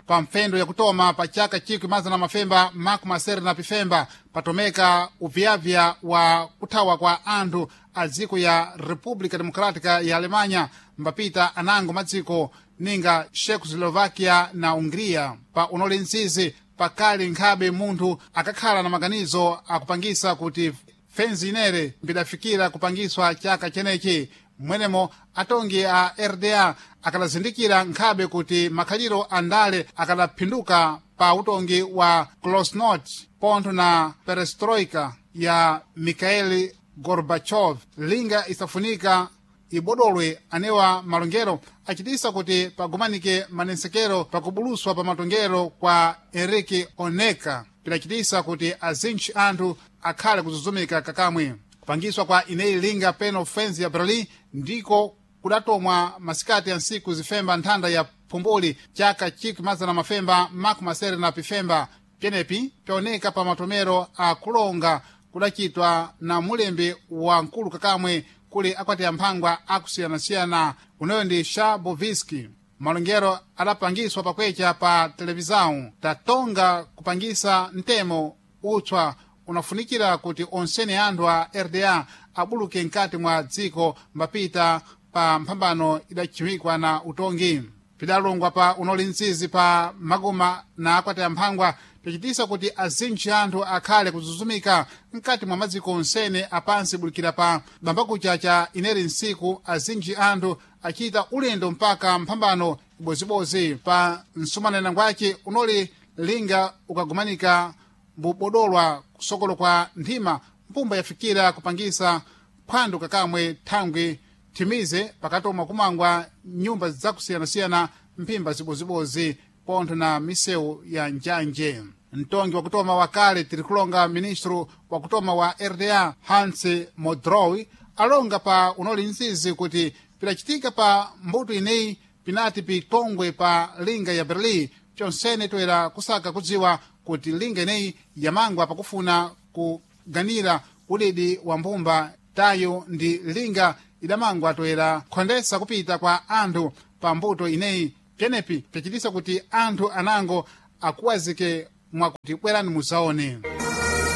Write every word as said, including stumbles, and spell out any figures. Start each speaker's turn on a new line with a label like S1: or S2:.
S1: Pa mfendo yakutoma pa chaka chikwi mazana mafemba makumi asere na pifemba patomeka upyapya wa kuthawa kwa anthu a dziko ya República Democrática ya Alemanha mbapita anango madziko ninga Czechoslovakia na Hungria. Pa unoli mzizi pakali nkhabe munthu akakhala na maganizo akupangisa kuti fenzi inere mbidafikira kupangiswa chaka chenechi. Mwenemo atongi a R D A akadazindikira nkhabe kuti makhaliro a ndale akadaphinduka pa utongi wa glasnost pontho na perestroika ya Mikhail Gorbachev. Linga isafunika ibodolwe anewa malongero achitisa kuti pagumanike manensekero pakubuluswa pa matongero kwa Enrique Oneka pidachitisa kuti azintchi anthu akhale kuzuzumika kakamwe. Kupangiswa kwa ineyi linga peno fenzi ya Berlin ndiko kudatomwa masikati ya ntsiku zifemba nthanda ya phumbuli chaka chikwi mazana mafemba makumi asere na pifemba. Pyenepi pyaoneka pa matomero a kulonga kudachitwa na mulembi wa mkulu kakamwe kuli akwati amphangwa akusiyanasiyana, unoyo ndi Shaboviski. Malongero adapangiswa pakwecha pa televisão tatonga kupangisa mtemo utswa unafunikira kuti onsene anthu a R D A abuluke mkati mwa dziko mbapita pa mphambano idachiwikwa na utongi. Pidalongwa pa unoli mzizi pa magoma na akwati amphangwa pichitisa kuti azintchi anthu akhale kuzuzumika mkati mwa madziko onsene apansi bulikira pa bambakucha cha ineri nsiku. Azintchi anthu achita ulendo mpaka mphambano ibozibozi pa msumanena ngwace unoli linga ukagumanika mbubodolwa kusokolo kwa nthima mpumba yafikira kupangisa phwando kakamwe thangwi thimize pakatoma kumangwa nyumba zakusiyanasiyana mphimba zibozibozi pontho na misewu ya njanje. Mtongi wakutoma wakale tirikulonga ministro wakutoma wa R D A Hans Modrow alonga pa unoli mzizi kuti pidachitika pa mbuto ineyi pinati pitongwe pa linga ya Berlin chonsene toera kusaka kudziwa kuti linga ineyi yamangwa pakufuna kuganira udidi wa mbumba tayo ndi linga idamangwa toera khondesa kupita kwa anthu pa mbuto ineyi. Pyenepi pyachitisa kuti anthu anango akuwazike mwakuti bwerani muzaone.